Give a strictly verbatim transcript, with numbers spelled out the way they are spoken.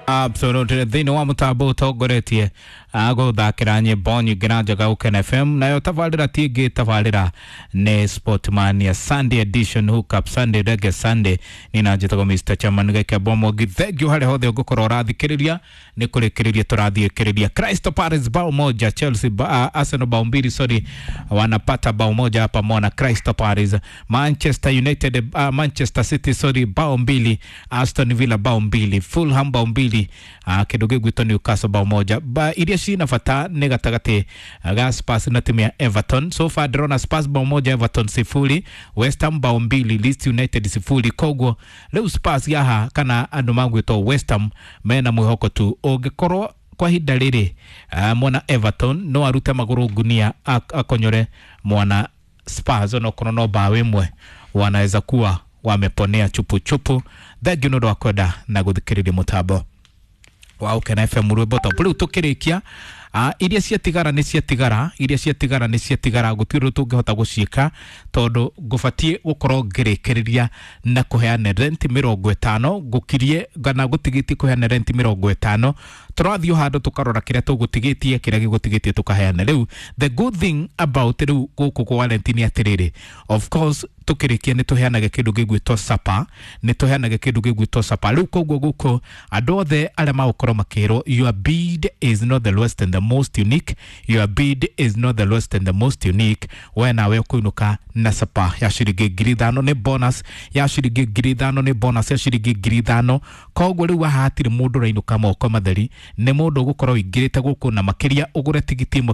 Absolutely, thĩinĩ wa mũtambo ũtongoretie gũthakĩra nyĩmbo nyingĩ na njega Ũkena F M, nayo tabarĩra ti ĩngĩ, tabarĩra nĩ Sportmania Sunday Edition, Hookup Sunday, Reggae Sunday. Nĩ na njĩtagwo Mister Chairman Gakembo Mwangi. Thank you harĩa hothe ũngĩkorwo ũrathikĩrĩria. Nĩ kũrĩkĩrĩria tũrathiĩkĩrĩria. Crystal Palace bao moja, Chelsea ba, uh, Arsenal bao mbili, sorry, wanapata bao moja hapa mona Crystal Palace. Manchester United, uh, Manchester City, sorry, bao mbili, Aston Villa bao mbili, Fulham bao mbili, uh, kĩndũ gĩgwĩtwo Newcastle bao moja. Ba iria cina bata nĩ gatagatĩ ga Spurs na timu ya Everton. So far ndĩrona Spurs bao moja, Everton sifuri, West Ham bao mbili, Leeds United sifuri. Koguo rĩu Spurs yaha kana andũ magwĩtwo West Ham mena mwĩhoko tu ũngĩkorwo kwa ihinda rĩrĩ, uh, mwana Everton no arute magũrũ ngunia ak akonyore mwana Spurs, onokorwo no bao ĩmwe, wanaweza kuwa wameponea chupu chupu. Thengiũ nĩ ũndũ wa kwenda na gũthikĩrĩria mũtambo wa Ũkena F M, rwĩmbo top. Rĩu tũkĩrĩkia, uh, iria ciatigara nĩ ciatigara, iria ciatigara nĩ ciatigara, gũtirĩ ũndũ tũngĩhota gũciĩka tondũ ngũbatiĩ gũkorwo ngĩrĩkĩrĩria na kũheana rent mĩrongo ĩtano, ngũkirie kana gũtigĩtie kũheana rent mĩrongo ĩtano. Tũrathiĩ o handũ tũkarora kĩrĩa tũgũtigĩtie, kĩrĩa gĩgũtigĩtie tũkaheana. Rĩu the good thing about rĩu gũkũ kwa rent nĩ atĩrĩrĩ, of course tũkĩrĩkia nĩ tũheanaga kĩndũ gĩgwĩtwo sapa, nĩ tũheanaga kĩndũ gĩgwĩtwo sapa. Rĩu koguo gũkũ andũ othe arĩa magũkorwo makĩrwo, "Your bid is not the lowest and the most unique, your bid is not the lowest and the most unique," we nawe ũkũinũka na sapa ya ciringi ngiri ithano, nĩ bonus ya ciringi ngiri ithano, nĩ bonus ya ciringi ngiri ithano. Koguo rĩu haha hatirĩ mũndũ ũrainũka moko matheri, nĩ mũndũ ũgũkorwo ũingĩrĩte gũkũ na makĩria ũgũre tigiti ĩmwe.